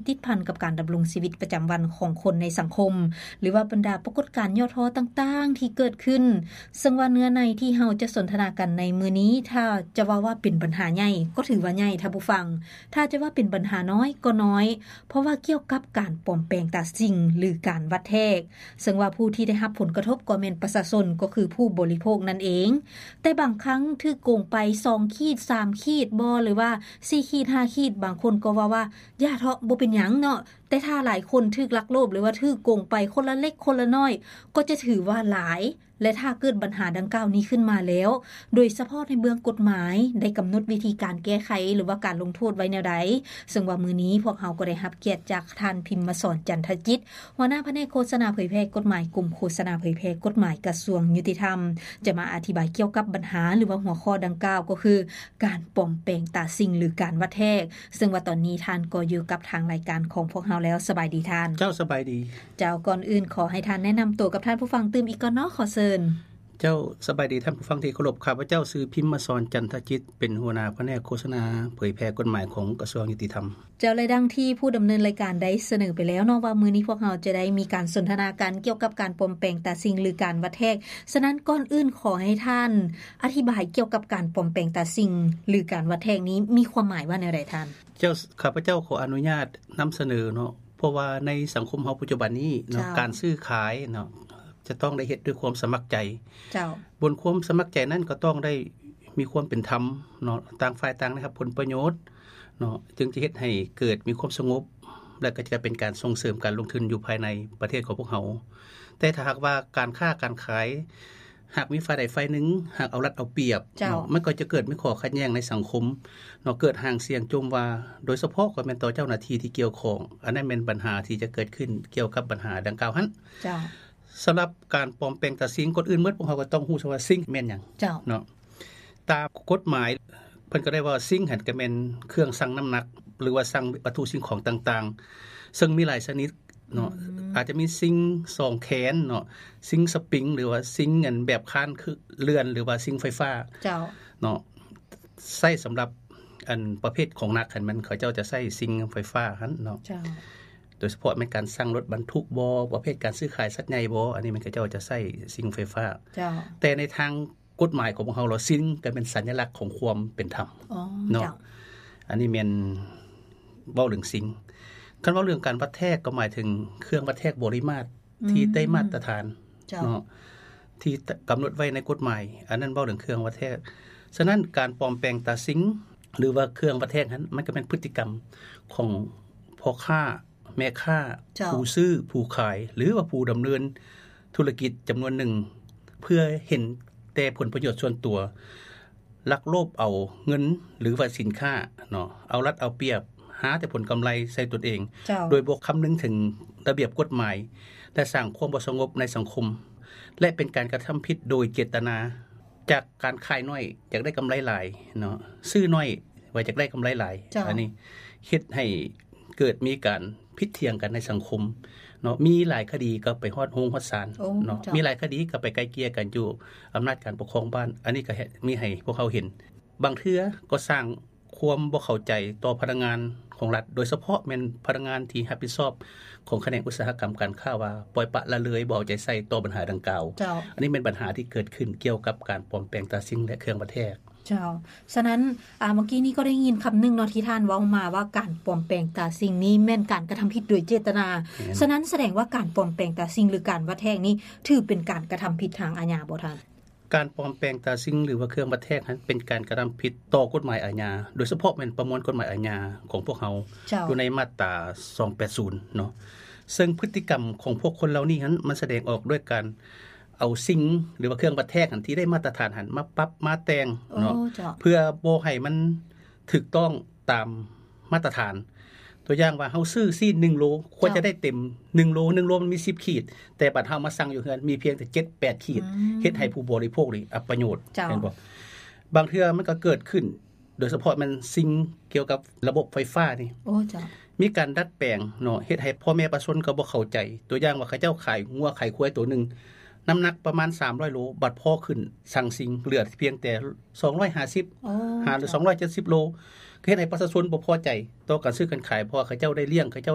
ຕິດພັນກັບການດຳລົງຊີວິດປະຈຳວັນຂອງຄົນໃນສັງຄົມ ຫຼືວ່າບັນດາປາກົດການຫຍໍ້ທໍ້ຕ່າງໆທີ່ເກີດຂຶ້ນ. ເຊິ່ງວ່າເນື້ອໃນທີ່ເຮົາຈະສົນທະນາກັນໃນມື້ນີ້ ຖ້າຈະເວົ້າວ່າເປັນບັນຫາໃຫຍ່ກໍຖືວ່າໃຫຍ່ທ່ານຜູ້ຟັງ, ຖ້າຈະວ່າເປັນບັນຫານ້ອຍກໍນ້ອຍ ເພາະວ່າກ່ຽວກັບການປອມແປງຕາສິ່ງ ຫຼື ການວັດແທກ. ເຊິ່ງວ່າຜູ້ທີ່ໄດ້ຮັບຜົນກະທົບກໍແມ່ນປະຊາຊົນ ກໍຄືຜູ້ບໍລິໂພກນັ້ນເອງ. ແຕ່ບາງຄັ້ງຖືກໂກງໄປສອງຂີດ ສາມຂີດບໍ ຫຼືວ່າສີ່ຂີດ ຫ້າຂີດ ບາງຄົນກໍເວົ້າວ່າ ຢ່າເທາະ ບໍ່ເປັນຫຍັງເນາະ. ແຕ່ຖ້າຫຼາຍຄົນຖືກລັກໂລບ ຫຼືວ່າຖືກໂກງໄປຄົນລະເລັກຄົນລະນ້ອຍ ກໍຈະຖືວ່າຫຼາຍ ແລະ ຖ້າເກີດບັນຫາດັ່ງກ່າວນີ້ຂຶ້ນມາແລ້ວ ໂດຍສະເພາະໃນເບື້ອງກົດໝາຍ ໄດ້ກຳນົດວິທີການແກ້ໄຂ ຫຼືວ່າການລົງໂທດໄວ້ແນວໃດ? ເຊິ່ງວ່າມື້ນີ້ພວກເຮົາກໍໄດ້ຮັບກຽດຈາກທ່ານ ພິມມະສອນ ຈັນທະຈິດ ຫົວໜ້າພະແນກໂຄສະນາເຜີຍແຜ່ກົດໝາຍ ກົມໂຄສະນາເຜີຍແຜ່ກົດໝາຍ ກະຊວງຍຸຕິທຳ ຈະມາອະທິບາຍກ່ຽວກັບບັນຫາ ຫຼືວ່າຫົວຂໍ້ດັ່ງກ່າວ ກໍຄື ການປອມແປງຕາສິ່ງ ຫຼື ການວັດແທກ. ເຊິ່ງວ່າຕອນນີ້ທ່ານກໍຢູ່ກັບທາງລາຍການຂອງພວກເຮົາແລ້ວ. ສະບາຍດີທ່ານ. ເຈົ້າ ສະບາຍດີ. ເຈົ້າ ກ່ອນອື່ນຂໍໃຫ້ທ່ານແນະນຳໂຕກັບທ່ານຜູ້ຟັງຕື່ມອີກກ່ອນເນາະ. ຂໍເຊີນ. ເຈົ້າ ສະບາຍດີທ່ານຜູ້ຟັງທີ່ເຄົາລົບ. ຂ້າພະເຈົ້າຊື່ ພິມມະສອນ ຈັນທະຈິດ ເປັນຫົວໜ້າພະແນກໂຄສະນາເຜີຍແຜ່ກົດໝາຍຂອງກະຊວງຍຸຕິທຳ. ເຈົ້າ ແລະ ດັ່ງທີ່ຜູ້ດຳເນີນລາຍການໄດ້ສະເໜີໄປແລ້ວເນາະ ວ່າມື້ນີ້ພວກເຮົາຈະໄດ້ມີການສົນທະນາກັນກ່ຽວກັບການປອມແປງຕາສິ່ງ ຫຼື ການວັດແທກ. ສະນັ້ນ ກ່ອນອື່ນຂໍໃຫ້ທ່ານອະທິບາຍກ່ຽວກັບການປອມແປງຕາສິ່ງ ຫຼື ການວັດແທກນີ້ ມີຄວາມໝາຍວ່າແນວໃດທ່ານ? ເຈົ້າ ຂ້າພະເຈົ້າຂໍອະນຸຍາດນຳສະເໜີເນາະ ເພາະວ່າໃນສັງຄົມເຮົາປັດຈຸບັນນີ້ເນາະ ເຈົ້າ ການຊື້ຂາຍເນາະ ຈະຕ້ອງໄດ້ເຮັດດ້ວຍຄວາມສະໝັກໃຈ. ເຈົ້າ ບົນຄວາມສະໝັກໃຈນັ້ນກໍຕ້ອງໄດ້ມີຄວາມເປັນທຳເນາະ ຕ່າງຝ່າຍຕ່າງໄດ້ຮັບຜົນປະໂຫຍດເນາະ ຈຶ່ງຈະເຮັດໃຫ້ເກີດມີຄວາມສະຫງົບ ແລະ ກໍຈະເປັນການສົ່ງເສີມການລົງທຶນຢູ່ພາຍໃນປະເທດຂອງພວກເຮົາ. ແຕ່ຖ້າຫາກວ່າການຄ້າການຂາຍ ຫາກມີຝ່າຍໃດຝ່າຍໜຶ່ງ ຫາກເອົາລັດເອົາປຽບ ເຈົ້າ ເນາະ ມັນກໍຈະເກີດມີຂໍ້ຂັດແຍ່ງໃນສັງຄົມເນາະ ເກີດຫາງສຽງໂຈມວ່າ ໂດຍສະເພາະກໍແມ່ນຕໍ່ເຈົ້າໜ້າທີ່ທີ່ກ່ຽວຂ້ອງ. ອັນນັ້ນແມ່ນບັນຫາທີ່ຈະເກີດຂຶ້ນກ່ຽວກັບບັນຫາດັ່ງກ່າວຫັ້ນ. ເຈົ້າ ສຳລັບການປອມແປງຕາສິ່ງ ກ່ອນອື່ນໝົດພວກເຮົາກໍຕ້ອງຮູ້ຊະວ່າສິ່ງແມ່ນຫຍັງ ເຈົ້າ ເນາະ. ຕາມກົດໝາຍເພິ່ນກໍໄດ້ວ່າ ສິ່ງຫັ້ນກໍແມ່ນເຄື່ອງຊັ່ງນ້ຳໜັກ ຫຼືວ່າຊັ່ງວັດຖຸສິ່ງຂອງຕ່າງໆ ເຊິ່ງມີຫຼາຍຊະນິດເນາະ. ອືມ ອາດຈະມີສິ່ງສອງແຂນເນາະ ສິ່ງສະປິງ ຫຼືວ່າສິ່ງອັນແບບຄານຄືເລື່ອນ ຫຼືວ່າສິ່ງໄຟຟ້າ ເຈົ້າ ເນາະ ໃຊ້ສຳລັບອັນປະເພດຂອງໜັກຫັ້ນ ມັນເຂົາເຈົ້າຈະໃຊ້ສິ່ງໄຟຟ້າຫັ້ນເນາະ. ເຈົ້າ ໂດຍສະເພາະແມ່ນການຊັ່ງລົດບັນທຸກບໍ ປະເພດການຊື້ຂາຍສັດໃຫຍ່ບໍ ອັນນີ້ມັນເຂົາເຈົ້າຈະໃຊ້ສິ່ງໄຟຟ້າ. ເຈົ້າ ແຕ່ໃນທາງ ກົດໝາຍຂອງພວກເຮົາລະ ສິ່ງກໍເປັນສັນຍະລັກຂອງຄວາມເປັນທຳ ອໍ ເນາະ ເຈົ້າ ອັນນີ້ແມ່ນເວົ້າເລື່ອງສິ່ງ. ຄັນເວົ້າເລື່ອງການວັດແທກ ກໍໝາຍເຖິງເຄື່ອງວັດແທກບໍລິມາດ ອືມ ທີ່ໄດ້ມາດຕະຖານ ເຈົ້າ ເນາະ ທີ່ກຳນົດໄວ້ໃນກົດໝາຍ ອັນນັ້ນເວົ້າເລື່ອງເຄື່ອງວັດແທກ. ສະນັ້ນ ການປອມແປງຕາສິ່ງ ຫຼືວ່າເຄື່ອງວັດແທກນັ້ນ ມັນກໍແມ່ນພຶດຕິກຳຂອງພໍ່ຄ້າ ແມ່ຄ້າ ເຈົ້າ ຜູ້ຊື້ ຜູ້ຂາຍ ຫຼືວ່າຜູ້ດຳເນີນທຸລະກິດຈຳນວນໜຶ່ງ ເພື່ອເຫັນແຕ່ຜົນປະໂຫຍດສ່ວນຕົວ, ລັກໂລບເອົາເງິນ ຫຼືວ່າສິນຄ້າເນາະ, ເອົາລັດເອົາປຽບ, ຫາແຕ່ຜົນກຳໄລໃສ່ຕົນເອງ ເຈົ້າ ໂດຍບໍ່ຄຳນຶງເຖິງລະບຽບກົດໝາຍ ແລະ ສ້າງຄວາມບໍ່ສະຫງົບໃນສັງຄົມ ແລະ ເປັນການກະທຳຜິດໂດຍເຈດຕະນາ. ຈາກການຂາຍໜ້ອຍ ຢາກໄດ້ກຳໄລຫຼາຍເນາະ, ຊື້ໜ້ອຍ ວ່າຢາກໄດ້ກຳໄລຫຼາຍ. ເຈົ້າ ອັນນີ້ເຮັດໃຫ້ເກີດມີການຜິດຖຽງກັນໃນສັງຄົມເນາະ, ມີຫຼາຍຄະດີກໍໄປຮອດໂຮງຮອດສານ ໂອ້ ເນາະ ເຈົ້າ ມີຫຼາຍຄະດີກໍໄປໄກ່ເກ່ຍກັນຢູ່ອຳນາດການປົກຄອງບ້ານ. ອັນນີ້ກໍເຮັດ ມີໃຫ້ພວກເຮົາເຫັນ ບາງເທື່ອກໍສ້າງຄວາມບໍ່ເຂົ້າໃຈຕໍ່ພະນັກງານຂອງລັດ ໂດຍສະເພາະແມ່ນພະນັກງານທີ່ຮັບຜິດຊອບຂອງຂະແໜງອຸດສາຫະກຳການຄ້າ ວ່າປ່ອຍປະລະເລີຍ ບໍ່ເອົາໃຈໃສ່ຕໍ່ບັນຫາດັ່ງກ່າວ. ເຈົ້າ ອັນນີ້ແມ່ນບັນຫາທີ່ເກີດຂຶ້ນກ່ຽວກັບການປອມແປງຕາສິ່ງ ແລະ ເຄື່ອງວັດແທກ. ເຈົ້າ ສະນັ້ນ ອາ ເມື່ອກີ້ນີ້ກໍໄດ້ຍິນຄຳໜຶ່ງເນາະ ທີ່ທ່ານເວົ້າມາວ່າ ການປອມແປງຕາສິ່ງນີ້ແມ່ນການກະທຳຜິດໂດຍເຈດຕະນາ. ແມ່ນ. ສະນັ້ນສະແດງວ່າການປອມແປງຕາສິ່ງ ຫຼື ການວັດແທກນີ້ ຖືເປັນການກະທຳຜິດທາງອາຍາບໍ່ທ່ານ? ການປອມແປງຕາສິ່ງ ຫຼືວ່າເຄື່ອງວັດແທກນັ້ນ ເປັນການກະທຳຜິດຕໍ່ກົດໝາຍອາຍາ, ໂດຍສະເພາະແມ່ນປະມວນກົດໝາຍອາຍາຂອງພວກເຮົາ ເຈົ້າ ຢູ່ໃນມາດຕາສອງແປດສູນເນາະ. ເຊິ່ງພຶດຕິກຳຂອງພວກຄົນເຫຼົ່ານີ້ຫັ້ນ ມັນສະແດງອອກດ້ວຍການເອົາສິ່ງ ຫຼືວ່າເຄື່ອງວັດແທກຫັ້ນ ທີ່ໄດ້ມາດຕະຖານຫັ້ນ ມາປັບມາແຕ່ງເນາະ ໂອ້ ເຈົ້າ ເພື່ອບໍ່ໃຫ້ມັນຖືກຕ້ອງຕາມມາດຕະຖານ. ຕົວຢ່າງວ່າ ເຮົາຊື້ຊີ້ນໜຶ່ງໂລ ຄວນຈະ ເຈົ້າ ໄດ້ເຕັມໜຶ່ງໂລ, ໜຶ່ງໂລມັນມີສິບຂີດ ແຕ່ບັດເຮົາມາຊັ່ງຢູ່ເຮືອນ ມີພຽງແຕ່ເຈັດແປດຂີດ ອືມ ເຮັດໃຫ້ຜູ້ບໍລິໂພກນີ້ອັບປະໂຫຍດ. ເຈົ້າ ແມ່ນບໍ່? ບາງເທື່ອມັນກໍເກີດຂຶ້ນ ໂດຍສະເພາະແມ່ນສິ່ງກ່ຽວກັບລະບົບໄຟຟ້ານີ້ ໂອ້ ເຈົ້າ ມີການດັດແປງເນາະ ເຮັດໃຫ້ພໍ່ແມ່ປະຊາຊົນກໍບໍ່ເຂົ້າໃຈ. ຕົວຢ່າງວ່າ ເຂົາເຈົ້າຂາຍງົວຂາຍຄວາຍໂຕໜຶ່ງ ນ້ຳໜັກປະມານສາມຮ້ອຍໂລ ບັດພໍຂຶ້ນຊັ່ງສິ່ງ ເຫຼືອພຽງແຕ່ສອງຮ້ອຍຫ້າສິບ ໂອ້ ຫາ ເຈົ້າ ສອງຮ້ອຍເຈັດສິບໂລ ກໍເຮັດໃຫ້ປະຊາຊົນບໍ່ພໍໃຈຕໍ່ການຊື້ການຂາຍ ເພາະວ່າເຂົາເຈົ້າໄດ້ລ້ຽງ ເຂົາເຈົ້າ